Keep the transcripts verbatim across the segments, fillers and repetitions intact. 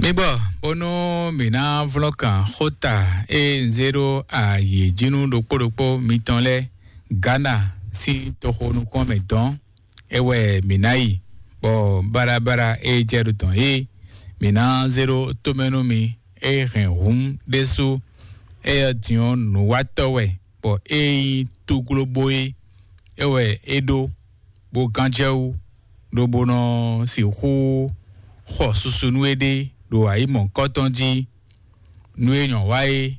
Mi gbɔ bónú mǐ ná vlɔ́ kan xóta e un zé ɖó ayǐ jí nú ɖokpó ɖokpó mitɔn lɛ́ɛ Ghana sín toxo nukún mɛ dɔn. É wɛ mǐ ná yi, bɔ baɖabaɖa e jɛ ɖo dɔn é, mǐ ná zé ɖó tomɛ nú mi. E hɛn hǔn ɖésú, éyɛ́ din ɔ́, nǔwatɔ́ wɛ, bɔ é nyí túglóbó é, é wɛ é ɖó, bó gán jɛ wú, lobo nɔ sixú xɔ susu nú é ɖe ɖo ayǐ mɔ̌hunkɔtɔn jí. Nú é nyɔ̌ wa é,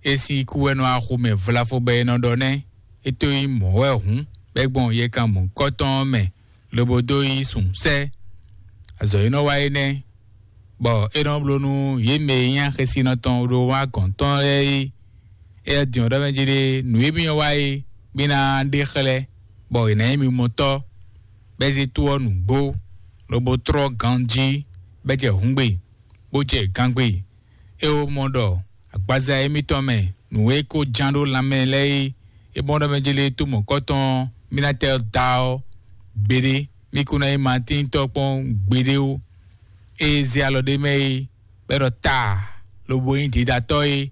é sín kú wɛ nɔ axu mɛ vlafo bɔ è nɔ ɖɔ nɛ́. É tó nyí mɔ̌ wɛ hǔn, bɔ é gbɔn yɛkan mɔ̌hunkɔtɔn ɔ́ mɛ, lobo dó yí sǔn sɛ́. Azɔ̌ e nɔ wa é nɛ́, bɔ é nɔ bló nú yě mɛ e nyí axésinɔ tɔn ɖo wá gɔ̌n tɔn lɛ́ɛ é. Éyɛ́ din ɔ́ ɖɔ mɛ jí ɖe, nǔ e mì nyɔ́ wa é, mì ná ɖe xlɛ́, bɔ è nǎ nyí mi mɔtɔ́, bɔ é zé tó ɔ́ nǔgbó, lobo tlɔ́ ganjí, bɔ é jɛ hǔngbe, bó jɛ gangbe. É wǒ mɔ ɖɔ agbaza émítɔn mɛ nǔ e ko ján ɖó lanmɛ lɛ́ɛ é, é mɔ ɖɔ mɛ jélé tó mɔ̌kɔtɔn ɔ́, mì ná tɛ da ɔ́ gbeɖé, mì kún ná nyí Matíntɔ́ kpɔ́n gbeɖé ó. Ée zé alɔ ɖé mɛ é, bɔ é ɖɔ taa, lobo nyí ɖiɖatɔ́ é,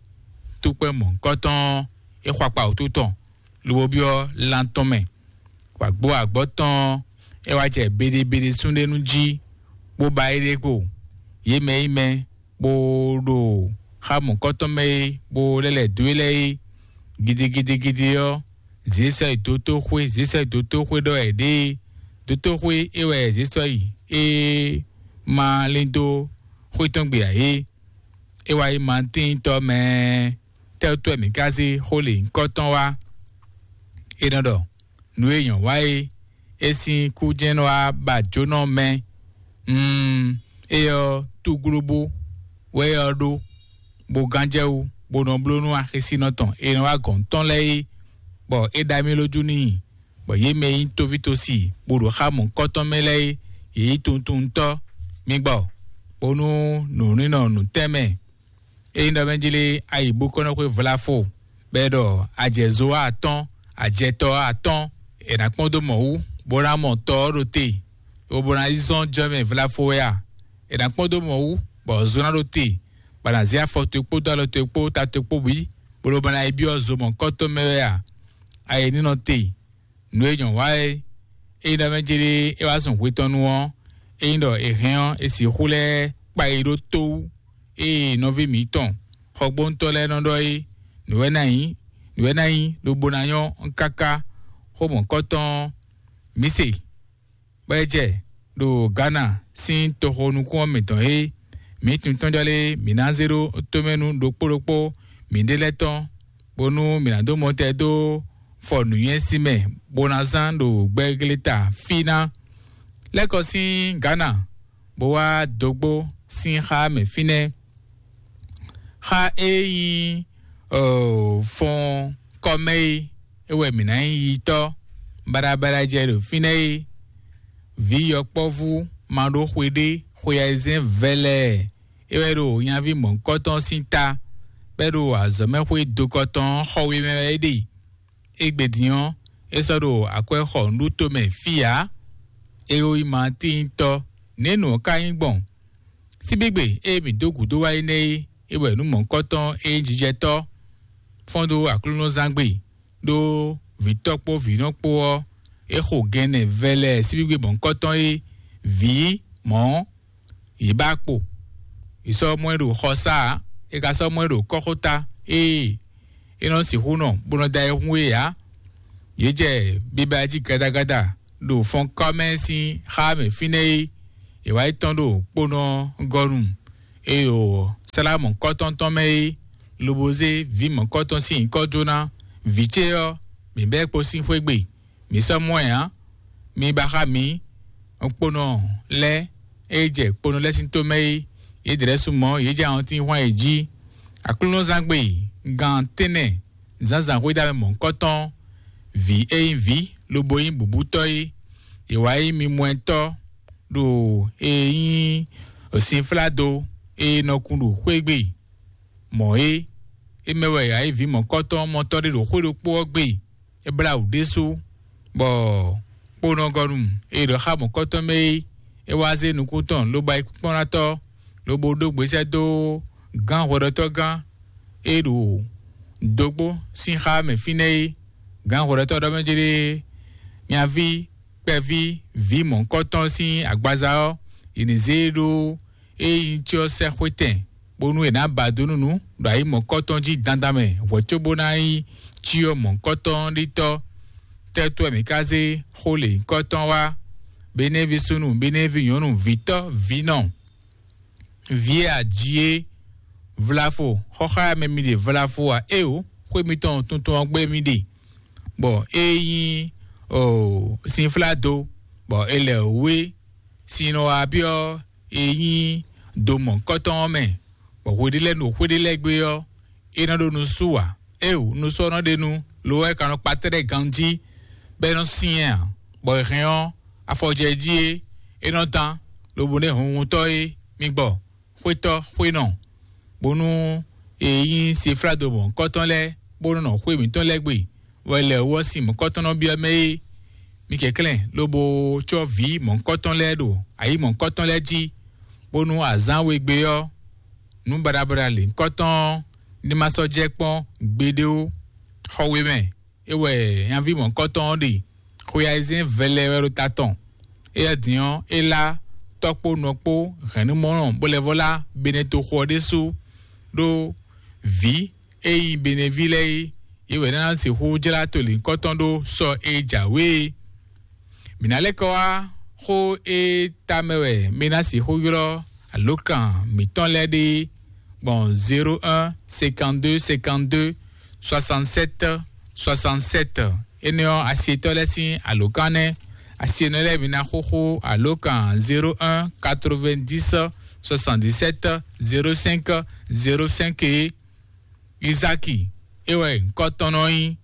túkpɛ́n mɔ̌hunkɔtɔn ɔ́, é xɔ akpa wǔtu tɔn, lobo byɔ́ lan tɔn mɛ. Wǎgbó agbɔ̌ tɔn ɔ́, é wá jɛ beɖebeɖe súnɖénú jí, bó ba éɖée kpo. Yě mɛ e nyí mɛ, bó ɖo xá mɔ̌kɔtɔn mɛ é, bó lɛ́ lɛ̌ dó e lɛ́ɛ é, gidigidigidi ɔ́, zě sɔ́ yi dotóxwé, zě sɔ́ yi dotóxwé ɖɔ wɛ ɖě é. Dotóxwé é wɛ zě sɔ́ yi, é ma lín dó xwé tɔn gbe ǎ é. É wá yi Matíntɔ́ mɛ. Tɛ́ wútu wɛ mǐ ka zé xó lě nyǐkɔ tɔn wá? É nɔ ɖɔ: Nǔ e nyɔ̌ wa é, é sín kú jɛ́n nɔ wá ba jónɔ mɛ. Mm, éyɛ́ ɔ́, túglóbó wɛ é ɔ́ ɖó, bó gán jɛ wú, bó nɔ bló nú axésinɔ tɔn e nɔ wá gɔ̌n tɔn lɛ́ɛ é, bɔ é ɖa mì lójú n'i, bɔ yě mɛ e nyí tóvítósi, bó ɖo xá mɔ̌hunkɔtɔn mɛ lɛ́ɛ é, yě nyí tuntuntɔ́. Mi gbɔ, bónú nǔnínɔ nǔtɛ́nmɛ e nyí ɖɔ mɛ jí lé, ayǐbókɔ́nɔxwé vlafo, bɔ é ɖɔ ajɛzo atɔ́ɔ́n, ajɛtɔ́ atɔ́ɔ́n, è nǎ kpɔ́n dó mɔ̌ wú, bó ná mɔ tɔ ɔ́ ɖo te, lobo ná yi zɔ́n jɔ́mɛ vlafo wɛ a? È nǎ kpɔ́n dó mɔ̌ wú, bɔ zo ná ɖo te, bɔ a nǎ zé afɔ towe kpódó alɔ towe kpó ta towe kpó bǐ, bó lobo ná yi byɔ́ zo mɔ̌hunkɔtɔn mɛ wɛ a? Ayǐ ní nɔ te. Nǔ e nyɔ̌ wa é, ényí ɖɔ mɛ jlé é wá zɔn hwe tɔn nu ɔ́, ényí ɖɔ è hɛn ɔ́, è sixú lɛ́ kpa yi ɖó tó wú. Ée nɔví mǐtɔn xɔgbóntɔ́ lɛ́ɛ nɔ ɖɔ é, nǔ wɛ ná nyí, nǔ wɛ ná nyí, lobo ná nyɔ́ káká. Xó mɔ̌kɔtɔn ɔ́, mǐ se, bɔ é jɛ ɖo Ghana sín toxo nukún ɔ́ mɛ tɔn é. Mǐ tunwun tɔn jɔ lé, mǐ ná zé ɖó tomɛ nú ɖokpó ɖokpó mǐɖée lɛ́ɛ tɔn, bónú mǐ ná dó mɔtɛn dó fɔ nǔnywɛ́ sín mɛ, bó ná zán ɖo gbɛgleta fí ná. Lɛ́ kɔ sín Ghana, bó wá dógbó sín xá mɛ fínɛ́. Xá e nyí, ɔ, fɔn kɔmɛ é, é wɛ mǐ ná nyí yitɔ́ baɖabaɖa jɛ ɖo fínɛ́ é. Vǐ yɔkpɔ́vú ma ɖó xwe ɖé, xwe ayizɛ́n vɛlɛɛ é wɛ ɖo nyaví mɔ̌hunkɔtɔn sín ta, bɔ é ɖo azɔ̌mɛxwé dokɔ tɔn ɔ́ xɔ we mɛ wɛ é ɖe. Égbé din ɔ́, é sɔ́ ɖo akwɛ́ xɔ nǔɖuto mɛ fí ǎ. É wú yi Matíntɔ́, nɛ̌ nǔ ɔ́ ka nyí gbɔn? Síbígbe e mǐ dó gǔdo wá é nɛ́ é, é wɛ nǔ mɔ̌hunkɔtɔn e nyí jijɛtɔ́ fɔ́n dó Aklúnɔzángbe, ɖó vǐtɔ́ kpó vǐnɔ kpó ɔ́, é xo gɛnnɛ vɛlɛ síbígbe mɔ̌hunkɔtɔn e vǐ mɔ̌ yě ba kpo. Yě sɔ́ mɔ ɛ ɖo xɔsá ǎ, è ka sɔ́ mɔ ɛ ɖo kɔ́xota, ée é nɔ sixú nɔ bó nɔ da ayihún é ǎ. Yě jɛ biba jí gadagada ɖo fɔnkɔ́ mɛ sín xá mɛ fínɛ́ é. È wá yi tɔ́n ɖo kponɔ gɔ́nu, e ɖo sálá mɔ̌kɔ́tɔn tɔn mɛ é, lobo zé vǐ mɔ̌kɔ́tɔn sín nyǐkɔ jó ná. Vǐ ce ɔ́, mǐ bɛ́ kpo sín xwé gbe. Mǐ sɔ́ mɔ ɛ ǎ. Mi ba xá mǐ, kponɔ lɛ́ɛ e jɛ kponɔ lɛ́ɛ sín tó mɛ é, yě ɖě lɛ́ɛ su mɔ̌, yě jɛ awɔntín hwan yě jí. Aklúnɔzángbe gan tɛ́nnɛ zǎnzǎn xwédamɛ mɔ̌hunkɔtɔn, vǐ e nyí vǐ lobo nyí bǔbútɔ́ é, yě wá nyí mimɔɛtɔ́ ɖo e nyí sinfládo e nɔ kun ɖo xwé gbe mɔ̌ é. É mɛ wɛ yě wá nyí vǐ mɔ̌kɔ́tɔn mɔtɔ́ ɖé ɖo xwé ɖokpó ɔ́ gbe. É blá wǔ ɖésú, bɔ kponɔgɔnu e ɖɔ xá mɔ̌kɔtɔn mɛ é, é wá zé nukún tɔn lobo ayǐkúnkplɔ́nátɔ́ lobo ɖó gbesɛ dó gán hwɛɖɔtɔ́gán e ɖo dógbó sín xá mɛ fínɛ́ é. Gán hwɛɖɔtɔ́ ɖɔ mɛ jlé nyaví kpɛví vǐ mɔ̌hunkɔtɔn sín agbaza ɔ́, yě ní zé e ɖó e nyí cyɔ sɛ́xwetɛn, bónú è nǎ ba dó nú nǔ ɖo ayi mɔ̌kɔtɔn jí dandan mɛ hwɛ̌ cóbó ná nyí cyɔ mɔ̌kɔtɔn ɖitɔ́. Tɛ́tɔ́ mǐ ka zé xó lě nyǐkɔtɔn wá? Benévi súnnu, benévi nyɔ̌nu, vǐtɔ́, vǐnɔ, vǐ e aji é, vlafo, xɔxámɛ mi ɖe vlafo a? Éeǒ, xwé mitɔn tuntun ɔ́ gbé mi ɖe, bɔ é nyí sinflado, bɔ è lɛ wǔ é. Sin nɔ wá byɔ́ e nyí do mɔ̌kɔtɔn ɔ́ mɛ, bɔ hweɖé lɛ́ɛ ɖo xwé ɖé lɛ́ɛ gbe ɔ́, é nɔ ɖo nusú ǎ. Éeǒ, nusú ɔ́ nɔ ɖe nu, lo wɛ é ka nɔ kpa tɛ́ɖɛ́ ganjí, bɔ é nɔ syɛ́n ǎ, bɔ è hɛn ɔ́, afɔjɛ jí é, é nɔ dán, lobo nɛ́ hunhuntɔ́ é mi gbɔ, xwétɔ́, xwénɔ, bónú è nyí seflado mɔ̌kɔtɔn lɛ́ɛ, bónú nɔ xwé mǐtɔn lɛ́ɛ gbe, bɔ è lɛ wú ɔ́ sin mɔ̌kɔtɔn nɔ byɔ́ mɛ é. Mi kɛnklɛ́n lobo cɔ́ vǐ mɔ̌kɔtɔn lɛ́ɛ ɖo ayi mɔ̌kɔtɔn lɛ́ɛ jí, bónú azǎn we gbe ɔ́, nǔ baɖabaɖa lěhunkɔtɔn ɔ́ ní ma sɔ́ jɛ kpɔ́n gbeɖé ó. Xɔ we mɛ, é wɛ nyaví mɔ̌kɔtɔn ɔ́ ɖe. Xwe ayizɛ́n vɛlɛ wɛ ɖo ta tɔn. Éyɛ́ din ɔ́, é lá tɔ́ kpó nɔ kpó hɛ̌nnumɔnɔ bó lɛ́ vɔ́ lá Benetoxo ɔ́ ɖésú ɖó vǐ e nyí Beneví lɛ́ɛ é, yě wɛ ná sixú jlá to lǐnkɔtɔn ɖó sɔ e jǎwe é. Mǐ ná lɛ́ kɔ wá xó e tamɛ wɛ mi ná sixú ylɔ́ alǒkan mǐtɔn lɛ́ɛ ɖe gbɔn zéro un cinquante-deux cinquante-deux soixante-sept soixante-sept. Énɛ́ ɔ́, asietɔ́ lɛ́ɛ sín alǒkan nɛ́. Asienɔ lɛ́ɛ mi ná xúxú alǒkan zéro un quatre-vingt-dix soixante-dix-sept zéro cinq zéro cinq é. Izáki, é wɛ nyǐkɔ tɔn nɔ nyí.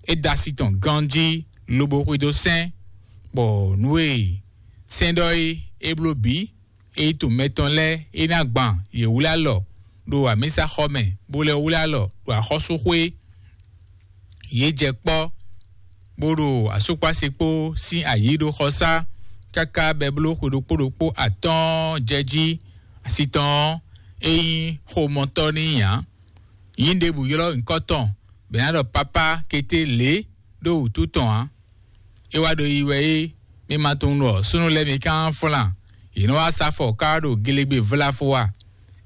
É da asi tɔn ganjí lobo xwedó sɛ́n, bɔ nǔ e sɛ́n ɖɔ é, é bló bǐ. É yi tunwun mɛtɔn lɛ́ɛ é ná gban yě wlí alɔ ɖo amǐsaxɔ mɛ, bó lɛ́ wlí alɔ ɖo axɔ́súxwé. Yě jɛ kpɔ́, bó ɖo asúkpási kpó sín ayǐ ɖo xɔsá, káká bɛbló xwe ɖokpó ɖokpó atɔ́ɔ́n jɛ jí. Asi tɔn ɔ́, é nyí xomɔtɔ́ n'i ǎ. Nyǐ ɖěbǔ ylɔ́ nyǐkɔ tɔn, bɔ è nǎ ɖɔ papá kété lě ɖó wǔtu tɔn ǎ. É wá ɖo yi wɛ é, mi ma tunwun ɖɔ súnnu lɛ́ɛ mi ka nɔ flan, yě nɔ wá sa afɔ ká ɖo gelegbe vlafo a?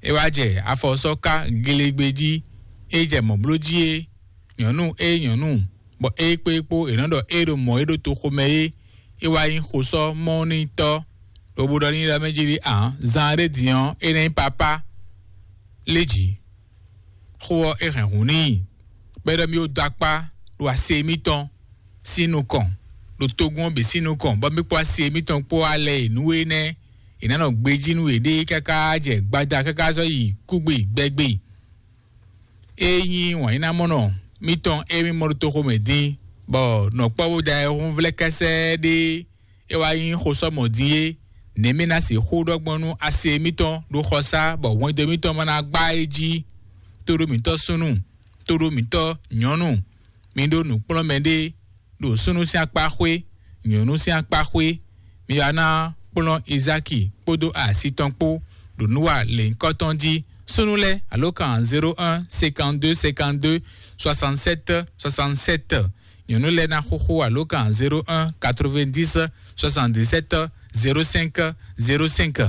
É wá jɛ afɔ sɔ́ ká gelegbe jí, é jɛ mɔ̌ bló jí é. Nyɔ̌nu é nyɔ̌nu, bɔ é kpé kpó è nɔ ɖɔ é ɖo mɔ̌ é ɖo toxo mɛ é, é wá nyí xosɔ́ mɔnítɔ́, lobo ɖɔ n'i ɖɔ mɛ jí ɖi ǎ. Zan ɖé din ɔ́, é ná nyí papá lé jǐ. Xó ɔ́, é hɛn hǔn n'i, bɔ é ɖɔ mì ó dó akpá ɖo ase mitɔn sín nukɔn, ɖo togun ɔ́ bǐ sín nukɔn, bɔ mì kpó ase mitɔn kpó alɛ e nǔ énɛ́ è nǎ nɔ gbejí nú yěɖée káká jɛ gbada káká zɔ́ yi kúgbe gbɛgbɛ. É nyí wǎnyínámɔnɔ mitɔn e mì mɔ ɖo toxo mɛ din, bɔ nɔ̌kpɔ́vú da ayɛhúnvlɛ́ kɛsɛ́ ɖé é wá nyí xosɔ́mɔ din é. Nɛ̌ mì ná sixú ɖɔ gbɔn nú ase mitɔn ɖo xɔsá, bɔ hwɛndo mitɔn ma ná gbá é jí? Tóɖó mǐtɔn súnnu, tóɖó mǐtɔn nyɔ̌nu, mi ɖó nǔkplɔ́nmɛ ɖé ɖo súnnu sín akpá xwé, nyɔ̌nu sín akpá xwé. Mi wá ná kplɔ́n Izáki kpódó asi tɔn kpó ɖo nǔ wa lěhunkɔtɔn jí. Súnnu lɛ́ɛ alǒkan zéro un cinquante-deux cinquante-deux soixante-sept soixante-sept. Nyɔ̌nu lɛ́ɛ ná xúxú alǒkan zéro un quatre-vingt-dix soixante-dix-sept zéro cinq zéro cinq.